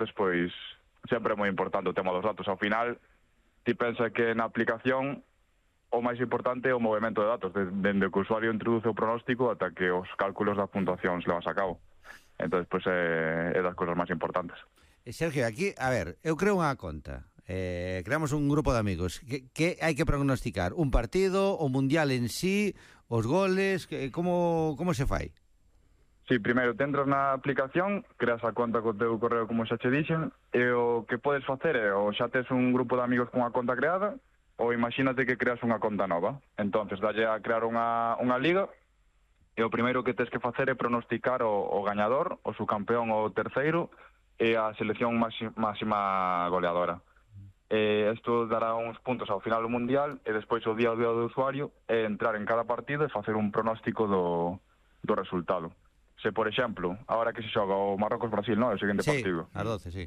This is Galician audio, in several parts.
despois sempre é moi importante o tema dos datos. Ao final, ti pensa que na aplicación o máis importante é o movimento de datos, dende que o usuario introduce o pronóstico ata que os cálculos das puntuacións levas a cabo. Entón, pois é das cousas máis importantes. Sergio, aquí, a ver, eu creo unha conta. Creamos un grupo de amigos. Que hai que prognosticar? Un partido, o mundial en sí, os goles, como se fai? Si, primeiro, te entras na aplicación, creas a conta co teu correo como xa che dixen, e o que podes facer é, ou xa tes un grupo de amigos con a conta creada, ou imagínate que creas unha conta nova. Entonces, dalle a crear unha liga, e o primeiro que tes que facer é pronosticar o gañador, o subcampeón ou o terceiro, e a selección máxima goleadora. Isto dará uns puntos ao final do mundial, e despois o día do usuario é entrar en cada partido e facer un pronóstico do resultado. Se, por exemplo, ahora que se xoga o Marrocos-Brasil, non? O seguinte partido. Sí, as 12, sí.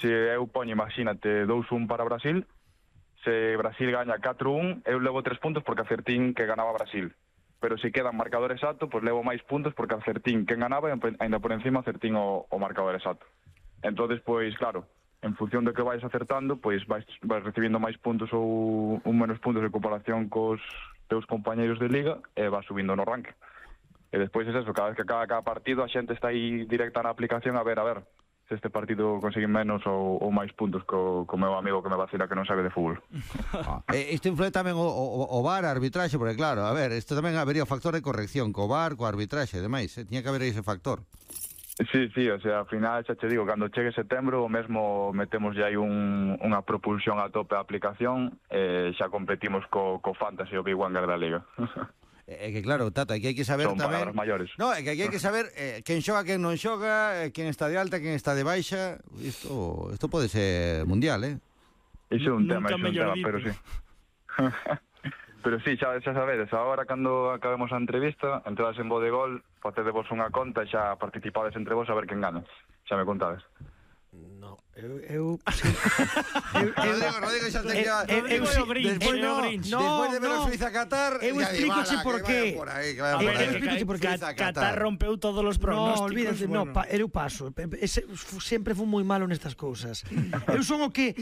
Se eu poño, imagínate, 2-1 para Brasil, se Brasil gaña 4-1, eu levo 3 puntos porque acertín que ganaba Brasil. Pero se queda marcador exacto, pois levo máis puntos porque acertín quen ganaba e ainda por encima acertín o marcador exacto. Entonces, pois, claro, en función do que vais acertando, pois vais recibindo máis puntos ou menos puntos de comparación cos teus compañeiros de liga e vas subindo no ranking. E despois é eso, cada vez que acaba cada partido a xente está aí directa na aplicación a ver se este partido conseguí menos ou máis puntos co meu amigo que me vacila que non sabe de fútbol. Isto influe tamén o VAR, a arbitraxe, porque claro, a ver, isto tamén habería o factor de corrección co VAR, co arbitraxe e demais, tiña que haber ese factor. Sí, o sea, ao final xa che digo, cando chegue setembro o mesmo metemos ya aí unha propulsión a tope a aplicación e xa competimos co Fantasy o Big Wanger da Liga. É que claro, Tata, aquí hai que saber son tamén... palabras maiores. No, é que aquí hai que saber quen xoga, quen non xoga, quen está de alta, quen está de baixa. Isto pode ser mundial, Iso é un tema, pero sí. Pero sí, xa sabedes, agora cando acabemos a entrevista, entrades en Bodegol, facedevos unha conta e xa participades entre vos a ver quen gana. Xa me contades. No, eu Rodrigo xa te queda... Despois de ver a Suiza Qatar... Eu explícoche por qué. Qatar rompeu todos os pronósticos. No, olvídate, eu paso. Sempre fui moi malo nestas cousas. Eu son o que...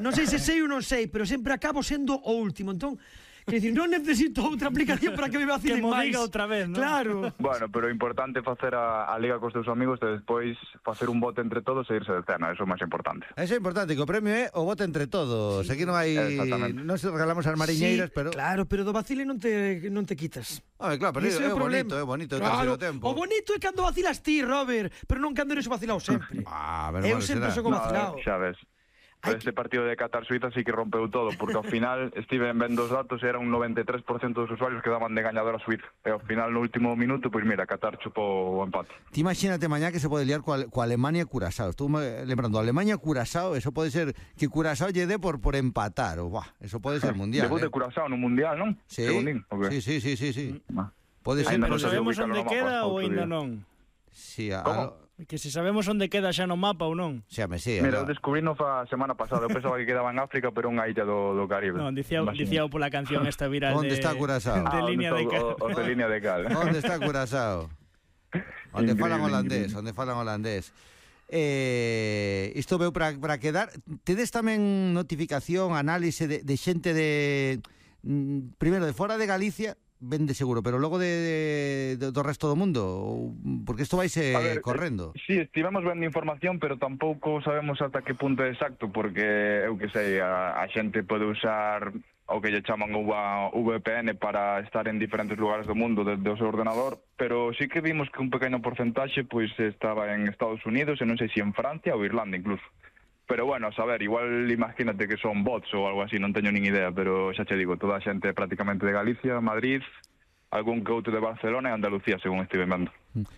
Non sei se sei ou non sei, pero sempre acabo sendo o último. Entón, quer dicir, non necesito outra aplicación para que me vacilen máis. Que mo diga outra vez, non? Claro. Bueno, pero é importante facer a liga cos teus amigos e despois facer un bote entre todos e irse de cena, eso é o máis importante. Eso é importante, que o premio é o bote entre todos. Aquí non hai... Non se regalamos as mariñeiras, pero... Claro, pero do vacile non te quitas. Claro, pero é bonito, claro, o bonito é cando vacilas ti, Robert, pero non cando eres o vacilado sempre. Eu sempre sou o vacilado. Xa ves. Este partido de Qatar-Suiza sí que rompeu todo, porque ao final estive vendo os datos e era un 93% dos usuarios que daban de gañador a Suiza. E ao final, no último minuto, pois mira, Qatar chupou o empate. Ti imagínate mañá que se pode liar coa Alemania e Curazao. Estou lembrando, Alemania e Curazao, eso pode ser que Curazao lle dé por empatar. Eso pode ser mundial. Debut de Curazao no mundial, non? Sí, sí. Pode ser. Pero sabemos onde queda ou ainda non? Sí, que se sabemos onde queda xa no mapa ou non. Mira, eu descubrino a semana pasada. Eu pensaba que quedaba en África, pero unha illa do Caribe. Non, dicía pola canción esta viral onde está Curazao? De línea de cal. De línea de cal. Onde está Curazao? Onde falan holandés. Isto veu para quedar. Tedes tamén notificación, análise de xente de primeiro de fora de Galicia, vende seguro, pero logo do resto do mundo, porque isto vaise correndo. Sí, estivemos vendo información, pero tampouco sabemos ata que punto exacto, porque eu que sei, a xente pode usar o que lle chaman VPN para estar en diferentes lugares do mundo desde o seu ordenador, pero sí que vimos que un pequeno porcentaxe pois estaba en Estados Unidos e non sei se en Francia ou Irlanda incluso. Pero bueno, a saber, igual imagínate que son bots ou algo así, non teño nin idea, pero xa che digo, toda a xente prácticamente de Galicia, Madrid, algún que outro de Barcelona e Andalucía, según estive vendo.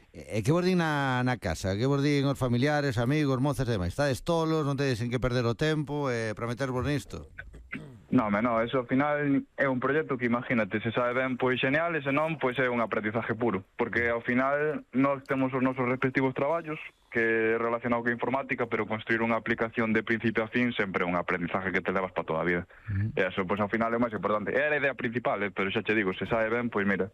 E que vos din na casa? Que vos din os familiares, amigos, mozas e demais? Estades tolos, non tedes en que perder o tempo para metervos nisto? Non, eso ao final é un proxecto que imagínate, se sabe ben, pois genial, e se non, pois é un aprendizaje puro, porque ao final nós temos os nosos respectivos traballos, que é relacionado con informática, pero construir unha aplicación de principio a fin sempre é un aprendizaje que te levas para toda a vida. E eso, pois ao final é o máis importante. É a idea principal, pero xa che digo, se sabe ben, pois mira,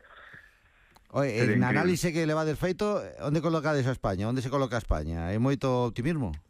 En análise que le va del feito, onde colocades a España? Onde se coloca a España? Hai moito optimismo?